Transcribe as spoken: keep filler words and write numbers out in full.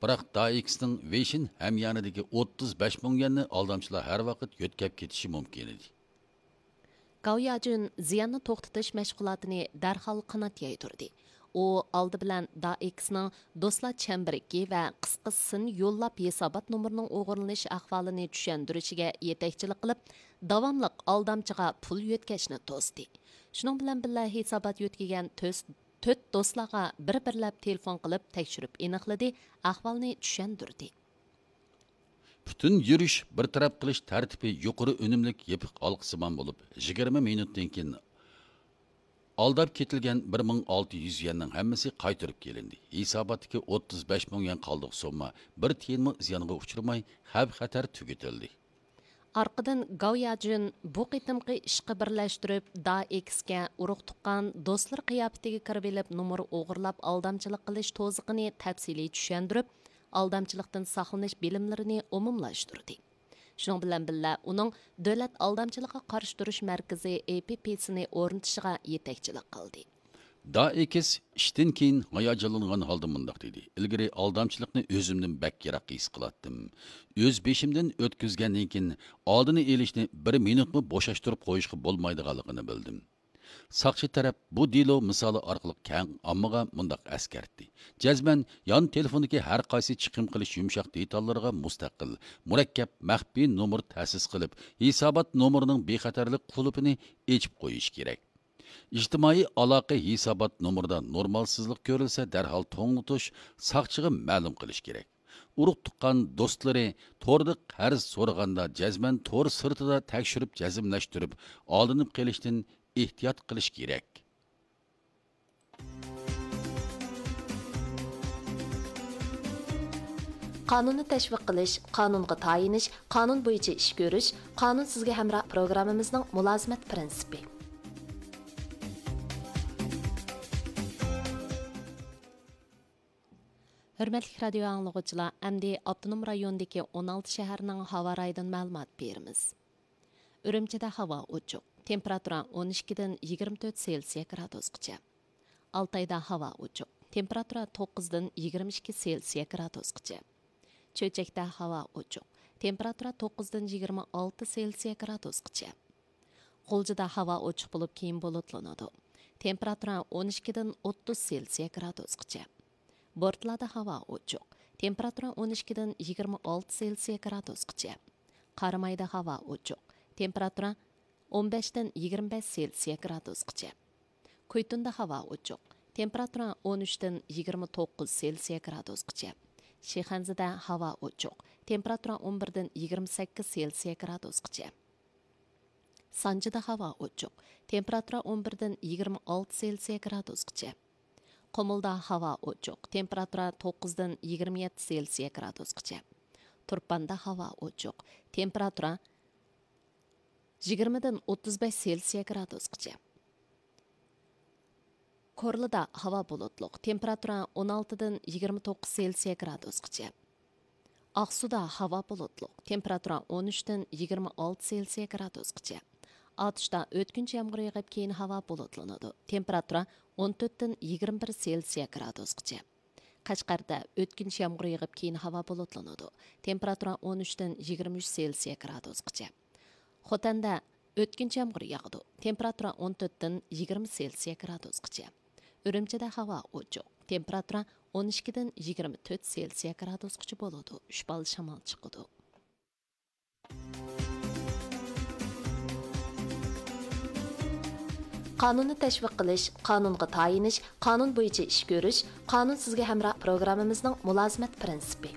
بىراق دائېكسنىڭ ۋېيشىن ھەميانىدىكى ئوتتۇز بەش مىڭ يۈەننى ئالدامچىلار ھەر ۋاقىت يۆتكەپ كېتىشى مۇمكىن ئىدى. گاۋ ياجۈن زىياننى توختىتىش مەشغۇلاتىنى دەرھال قانات يايدۇردى. ئۇ ئالدى بىلەن دائېكسنىڭ دوستلار چەمبىرىكى ۋە قىسقا سىن يوللاپ ھېسابات نومۇرىنىڭ ئوغرىلىنىش ئەھۋالىنى چۈشەندۈرۈشىگە يېتەكچىلىك قىلىپ، داۋاملىق ئالدامچىغا پۇل يۆتكەشنى توستى. شۇنىڭ بىلەن بىللە، ھېسابات يۆتكىگەن تۆس-، تۆت دوستلارغا بىر-بىرلەپ تېلېفون قىلىپ تەكشۈرۈپ ئېنىقلىدى، ئەھۋالنى چۈشەندۈردى. پۈتۈن يۈرۈش بىر تەرەپ قىلىش تەرتىپى يۇقىرى ئۈنۈملۈك يېپىق ھالقىسىمان بولۇپ، يىگىرمە مىنۇتتىن كېيىن ئالداپ كېتىلگەن بىر مىڭ ئالتە يۈز يۈەننىڭ ھەممىسى قايتۇرۇپ كېلىندى. ھېساباتتىكى ئوتتۇز بەش مىڭ يۈەن قالدۇق سومما بىر تىيىنمۇ زىيانغا ئۇچرىماي، خەۋپ-خەتەر تۈگىتىلدى. ئارقىدىن گاۋ ياجۈن بۇ قېتىمقى ئىشقا بىرلەشتۈرۈپ، دائېكسكە ئۇرۇق-تۇغقان، دوستلىرى قىياپىتىگە كىرىۋېلىپ، نومۇر ئوغرىلاپ ئالدامچىلىق قىلىش توزىقىنى تەپسىلىي چۈشەندۈرۈپ، ئالدامچىلىقتىن ساقلىنىش بىلىملىرىنى ئومۇملاشتۇردى. شۇنىڭ بىلەن بىللە، ئۇنىڭ دۆلەت ئالدامچىلىققا قارشى تۇرۇش مەركىزى، ئېي پى پى سىنى ئورنىتىشىغا يېتەكچىلىك قىلدى. دائېكس ئىشتىن كېيىن ھاياجانلانغان ھالدا مۇنداق دېدى: «ئىلگىرى ئالدامچىلىقنى ئۆزۈمدىن بەك يىراق ھېس قىلاتتىم. ئۆز بېشىمدىن ئۆتكۈزگەندىن كېيىن، ئالدىنى ئېلىشنى بىر مىنۇتمۇ بوشاشتۇرۇپ قويۇشقا بولمايدىغانلىقىنى بىلدىم.» ساقچى تەرەپ بۇ دېلو مىسالى ئارقىلىق كەڭ ئاممىغا مۇنداق ئەسكەرتتى: «جەزمەن يان تېلېفوندىكى ھەر قايسى چىقىم قىلىش يۇمشاق دېتاللىرىغا مۇستەقىل، مۇرەككەپ، مەخپىي نومۇر تەسىس قىلىپ، ھېسابات نومۇرىنىڭ بىخەتەرلىك قۇلۇپىنى ئېچىپ قويۇش كېرەك.» ئىجتىمائىي ئالاقە ھېسابات نومۇرىدا نورمالسىزلىق كۆرۈلسە، دەرھال توڭلىتىش، ساقچىغا مەلۇم قىلىش كېرەك. ئۇرۇق-تۇغقان، دوستلىرى توردا قەرز سورىغاندا، جەزمەن تور سىرتىدا تەكشۈرۈپ جەزملەشتۈرۈپ، ئالدىنىپ قېلىشتىن ئېھتىيات قىلىش كېرەك. قانۇننى تەشۋىق قىلىش، قانۇنغا تايىنىش، قانۇن بويىچە ئىش كۆرۈش، قانۇن سىزگە ھەمراھ پروگراممىمىزنىڭ مۇلازىمەت پىرىنسىپى. ھۆرمەتلىك رادىيو ئاڭلىغۇچىلار، ئەمدى ئاپتونوم رايوندىكى ئون ئالتە شەھەرنىڭ ھاۋا رايىدىن مەلۇمات بېرىمىز. ئۈرۈمچىدە ھاۋا ئوچۇق، تېمپېراتۇرا ئون ئىككىدىن يىگىرمە تۆت سېلسىيە گرادۇسقىچە. ئالتايدا ھاۋا ئوچۇق، تېمپېراتۇرا توققۇزدىن يىگىرمە ئىككى سېلسىيە گرادۇسقىچە. چۆچەكتە ھاۋا ئوچۇق، تېمپېراتۇرا توققۇزدىن يىگىرمە ئالتە سېلسىيە گرادۇسقىچە. غۇلجىدا ھاۋا ئوچۇق بولۇپ، كېيىن بۇلۇتلىنىدۇ. تېمپېراتۇرا ئون ئىككىدىن ئوتتۇز سېلسىيە گرادۇسقىچە. بورتالادا ھاۋا ئوچۇق، تېمپېراتۇرا ئون ئىككىدىن يىگىرمە ئالتە سېلسىيە گرادۇسقىچە. قارامايدا ھاۋا ئوچۇق، تېمپېراتۇرا ئون بەشتىن يىگىرمە بەش سېلسىيە گرادۇسقىچە. كۇيتۇندا ھاۋا ئوچۇق، تېمپېراتۇرا ئون ئۈچتىن يىگىرمە توققۇز سېلسىيە گرادۇسقىچە. شىخەنزىدە ھاۋا ئوچۇق، تېمپېراتۇرا ئون بىردىن يىگىرمە سەككىز سېلسىيە گرادۇسقىچە. سانجىدا ھاۋا ئوچۇق، تېمپېراتۇرا ئون بىردىن يىگىرمە ئالتە سېلسىيە گرادۇسقىچە. قۇمۇلدا ھاۋا ئوچۇق، تېمپېراتۇرا توققۇزدىن يىگىرمە يەتتە سېلسىيە گرادۇسقىچە. تۇرپاندا ھاۋا ئوچۇق، تېمپېراتۇرا يىگىرمىدىن ئوتتۇز بەش سېلسىيە گرادۇسقىچە. كورلىدا ھاۋا بۇلۇتلۇق، تېمپېراتۇرا ئون ئالتىدىن يىگىرمە توققۇز سېلسىيە گرادۇسقىچە. ئاقسۇدا ھاۋا بۇلۇتلۇق، تېمپېراتۇرا ئون ئۈچتىن يىگىرمە ئالتە سېلسىيە گرادۇسقىچە. ئاتۇشتا ئۆتكۈنچى يامغۇر يېغىپ، كېيىن ھاۋا بۇلۇتلىنىدۇ، تېمپېراتۇرا ئون تۆتتىن يىگىرمە بىر سېلسىيە گرادۇسقىچە. قەشقەردە ئۆتكۈنچى يامغۇر يېغىپ، كېيىن ھاۋا بۇلۇتلىنىدۇ، تېمپېراتۇرا ئون ئۈچتىن يىگىرمە ئۈچ سېلسىيە گرادۇسقىچە. خوتەندە ئۆتكۈنچى يامغۇر ياغىدۇ، تېمپېراتۇرا ئون تۆتتىن يىگىرمە سېلسىيە گرادۇسقىچە. ئۈرۈمچىدە ھاۋا ئوچۇق، تېمپېراتۇرا ئون ئىككىدىن يىگىرمە تۆت سېلسىيە گرادۇسقىچە بولىدۇ، ئۈچ بال شامال چىقىدۇ. قانۇننى تەشۋىق قىلىش، قانۇنغا تايىنىش، قانۇن بويىچە ئىش كۆرۈش، قانۇن سىزگە ھەمراھ پروگراممىمىزنىڭ مۇلازىمەت پىرىنسىپى.